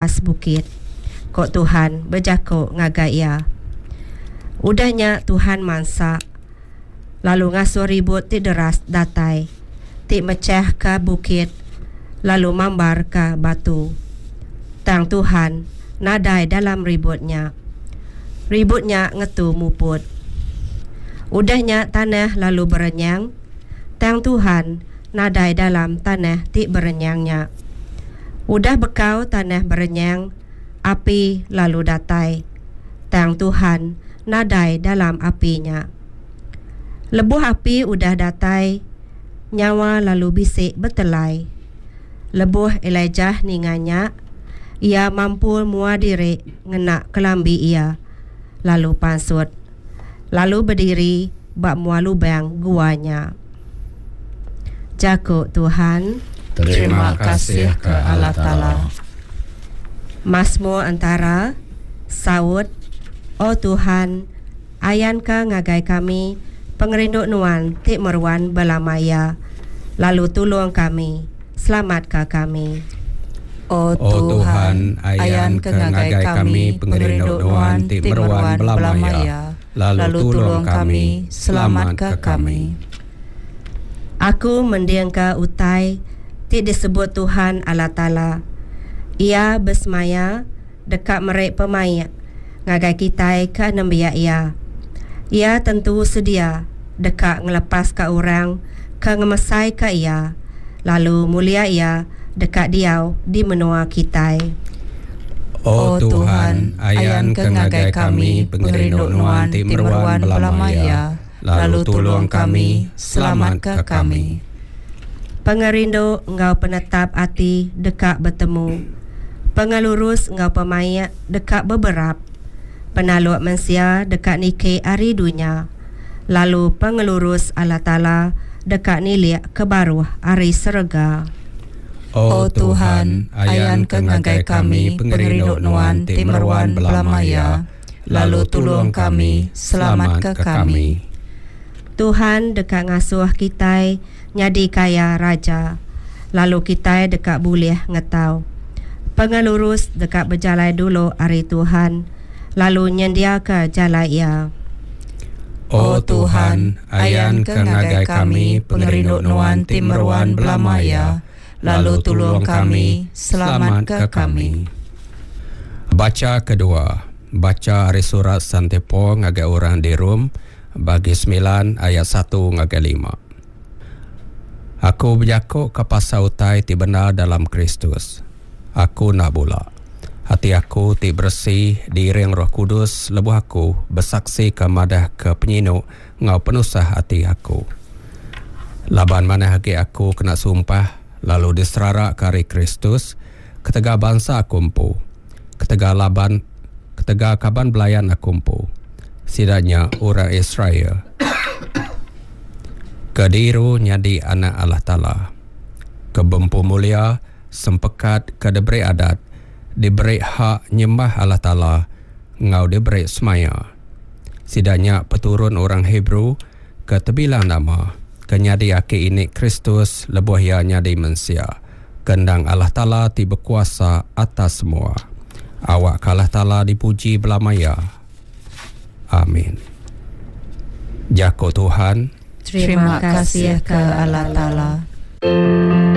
atas bukit, ku tuhan bejaku ngagai iya. Udah nya tuhan mansa lalu ngasuh ribut ti deras datai, ti mechahka bukit lalu mambarka batu. Tang tuhan nadai dalam ribut nya. Ribut nya ngetu muput. Udah nya tanah lalu berenyang, tang tuhan nadai dalam tanah ti berenyang nya. Udah bekau tanah berenyang, api lalu datai, tang tuhan nadai dalam api nya. Lebuh api udah datai, nyawa lalu bisi betelai. Lebuh Elijah ninga nya, iya mampul mua diri ngena kelambi iya, lalu pansut, lalu bediri ba mua lubang gua nya. Jaku Tuhan. Terima kasih ke Allah Taala. Masmur entara, Saut, O Tuhan, ayanka ngagai kami pengerindu Nuan ti meruan belama iya, lalu tulung kami, selamatka kami. O Tuhan, ayanka ngagai kami pengerindu Nuan ti meruan belama iya, lalu tulung kami, selamatka kami. Aku mendingka utai ti disebut tuhan Allah Taala. Iya besemaya deka meri pemaik ngagai kitai ke nembiak Iya. Iya tentu sedia deka ngelepaska orang ke ngemesaika Iya, lalu mulia Iya deka diau di menua kitai. O Tuhan, ayanka ngagai kami pengerindu Nuan ti meruan belama iya, lalu tulung kami, selamatka kami. Pengerindu enggau penetap ati deka betemu. Pengelurus enggau pemaik deka beberap. Penaluk mensia deka niki ari dunya, lalu pengelurus Allah Taala deka nilik ke baruh ari serega. O Tuhan, ayanka ngagai kami pengerindu Nuan ti meruan belama iya, lalu tulung kami, selamatka kami. Tuhan deka ngasuh kitai nyadi kaya raja, lalu kitai deka bulih ngetau. Pengelurus deka bejalai dulu ari Tuhan, lalu nyendiaka jalai Iya. O Tuhan, ayanka ngagai kami pengerindu Nuan ti meruan belama iya, lalu tulung kami, selamatka kami. Bacha kedua. Bacha ari surat Sante Paul ngagai orang di Rome, bagi semilan ayat satu ngagai lima. Aku bejaku ka pasal utai ti bendar dalam Kristus. Aku enda bula. Ati aku ti beresi diiring Roh Kudus lebuh aku besaksika madahka penyinu enggau penusah ati aku. Laban manah agi aku kena sumpah lalu diseraraka ari Kristus ketegal bansa aku empu, ketegal laban ketegal kaban belayan aku empu, sida nya orang Israel, ke diiru nyadi anak Allah Taala, ke bempu mulia, Sempekat ke diberi adat, diberi hak nyembah Allah Taala enggau diberi semaya. Sida nya peturun orang Hebrew ke tebilang nama, ke nyadi aki ini Kristus lebuh iya nyadi mensia, ke endang Allah Taala ti bekuasa atas semua. Awakka Allah Taala dipuji belama iya. Amin. Jaku Tuhan. Terima kasih ke Allah Taala.